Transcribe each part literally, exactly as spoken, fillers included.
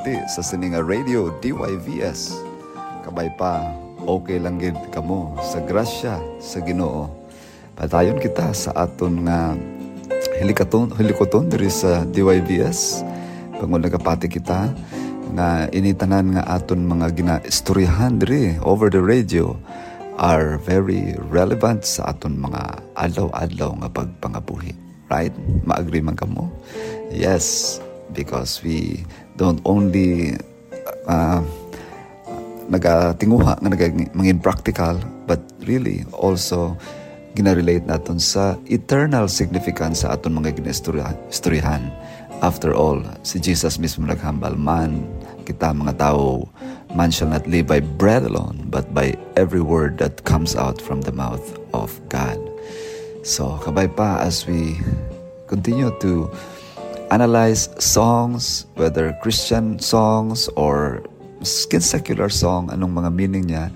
Ti sa sini nga radio, D Y V S. Kabay pa, okay lang gid kamo sa grasya sa Ginoo. Padayon kita sa aton nga hilikaton, hilikuton diri sa D Y V S. Bangod nagapati kita nga ini tanan nga aton mga ginaistoryahan diri over the radio are very relevant sa aton mga adlaw-adlaw nga pagpangabuhi. Right? Maagri man kamo? Yes, because we don't only uh, nagatinguha nga naga-, mangin practical, but really also ginarelate naton sa eternal significance sa aton mga ginaistorya-, istoryahan. After all, si Jesus mismo naghambal, "Man, kita mga tawo, man shall not live by bread alone, but by every word that comes out from the mouth of God." So, kabay pa as we continue to analyze songs, whether Christian songs or skin secular song, anong mga meaning niya,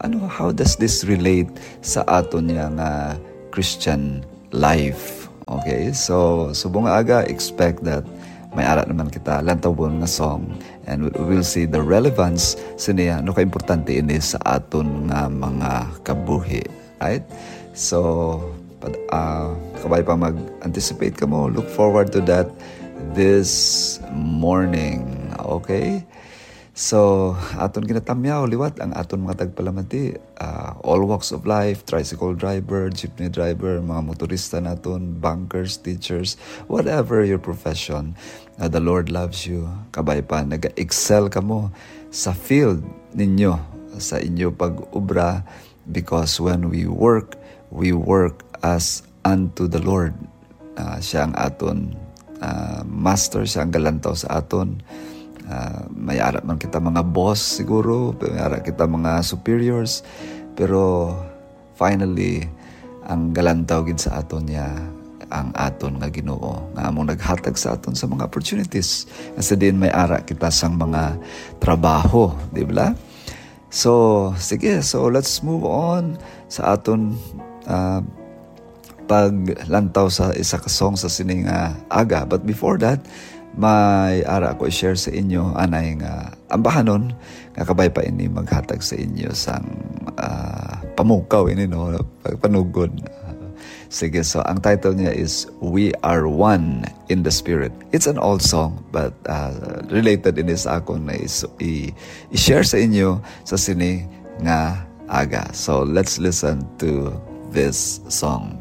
ano, how does this relate sa aton niya nga Christian life? Okay, so subong nga aga, expect that may ara naman kita lantawon nga song, and we- we'll see the relevance siniya, ano ka importante ini sa aton nga mga kabuhi, right? So, pad- ah, kabay pa mag-anticipate kamo, look forward to that this morning. Okay? So, aton ginatamyaw liwat ang aton mga tagpalamati, ah, all walks of life, tricycle driver, jeepney driver, mga motorista naton, bankers, teachers, whatever your profession, ah, the Lord loves you. Kabay pa, nag-excel kamo sa field ninyo, sa inyo pag-obra, because when we work, we work as unto the Lord. Ah, siya ang aton, ah, master, siya ang galantaw sa aton. Ah, may ara man kita mga boss siguro, may ara kita mga superiors, pero finally, ang galantaw gid sa aton niya ang aton nga Ginoo, nga among naghatag sa aton sa mga opportunities, nga sa diin may ara kita sang mga trabaho, di ba? So, sige, so let's move on sa aton, ah, paglantaw sa isa ka song sa sini nga aga. But before that, may ara ako i-share sa inyo anay nga ambahanon nga kabay pa ini maghatag sa inyo sang, ah, pamukaw ini, no, pagpanugod. Sige, so ang title niya is We Are One in the Spirit. It's an old song, but, ah, related ini sa akon na is- i- i-share sa inyo sa sini nga aga. So let's listen to this song.